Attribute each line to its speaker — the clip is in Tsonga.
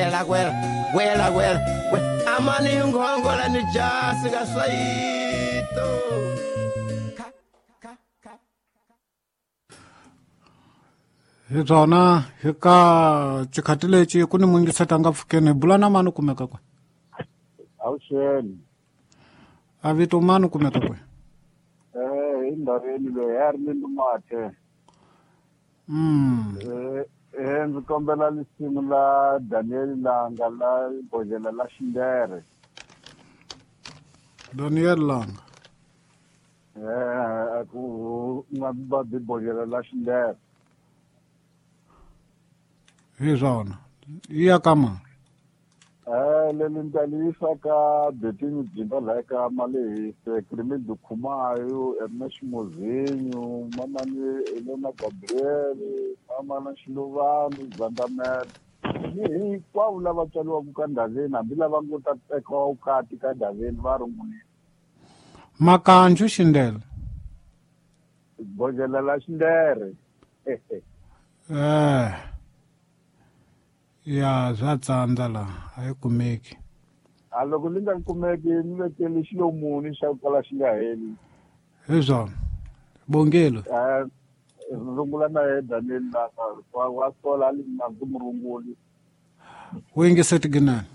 Speaker 1: Gwela gwela gwela amani ngongola ni jasi ka swaito.
Speaker 2: Hi byona hi ka xikhati lexi ku ni mungiseta nga pfukeni hi bula na mani kumeka kwe?
Speaker 3: Avuxeni.
Speaker 2: A vito mani kumeka kwe?
Speaker 3: Hi ndhaveni loyi a ri ni Lumathe. Ndzi kombela lisimu la Daniel Langa la bodlhela la Xindere.
Speaker 2: Daniel Langa.
Speaker 3: A ku nga va bi bodlhela la Xindere.
Speaker 2: Hi swona. Yi ya ka mani?
Speaker 3: Leli ni ta li yisa ka Betini Jimba laha ka Malehise, Clement Khumayo, Ernest Mozinho, Mamani Elena Gabriel, Mamana Xilovani, Zandamela. Ni hinkwavo lava tswariwaka ka Ndhaveni hambi lava ngo ta tekiwa vukati ka Ndhaveni va rungulile.
Speaker 2: Makanju Xindele.
Speaker 3: Bodlhela la Xindere.
Speaker 2: Ya swa tsandza laha a yi kumeki.
Speaker 3: A loko li nga kumeki ni vekele xilomuni xa ku kala xi nga heli.
Speaker 2: Hi swona. Bongelo.
Speaker 3: Rungula na yena Daniel Langa wa sola a li na ndzi mu runguli.
Speaker 2: Wu yingiseti ginani.